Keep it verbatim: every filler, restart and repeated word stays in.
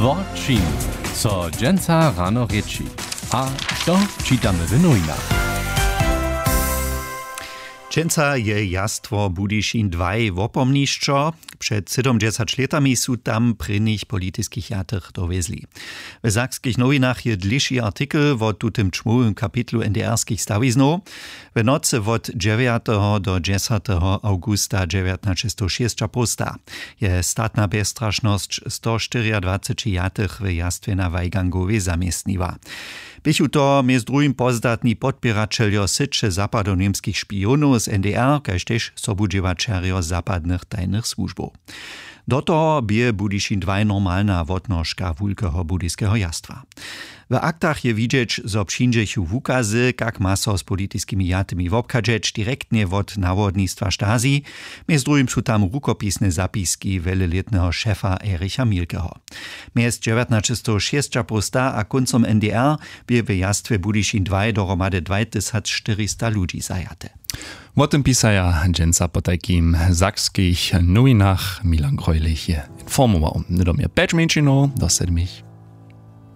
Wo čim so dźensa rano rěči a što čitamy w nowinach? Dźensa je jastwo Budyšin dwaj wopomnišćo. Před sydomdźesać lětami su tam prěnich politiskich jatych dowjezli. W sakskich nowinach je dlěši artikel wo tutym čmołym kapitlu ndrskich stawiznow. W nocy wot dźewjateho do dźesateho awgusta dźewjatnaćestowšěsćapołsta je statna bjezstrašnosć stoštyriadwaceći jatych w jastwje na weigangowej zaměstniła. Běchu to mjez druhim pozdatni podpěraćeljo syće zapadoněmskich špijonow z ndr kaž tež sobudźěłaćerjo zapadnych tajnych słužbow. Do toho bě budyšin dwaj normalna wotnožka wulkeho budyskeho jastwa. W aktach je widźeć zo přińdźechu wukazy kak ma so z politiskimi jatymi wobchadźeć direktnje wot nawodnistwa stasi. Mjez druhim su tam rukopisne zapiski wjelelětneho šefa ericha milkeho. Mjez dźewjatnaćestowšěsćapołsta a kóncom ndr bě w jastwje budyšin dwaj dohromady dwajtysacštyrista ludźi zajate. Wo tym pisaja dźensa potajkim w sakskich nowinach. Milan grojlich je informował, hnydom je pjeć mjeńšinow do sedmich.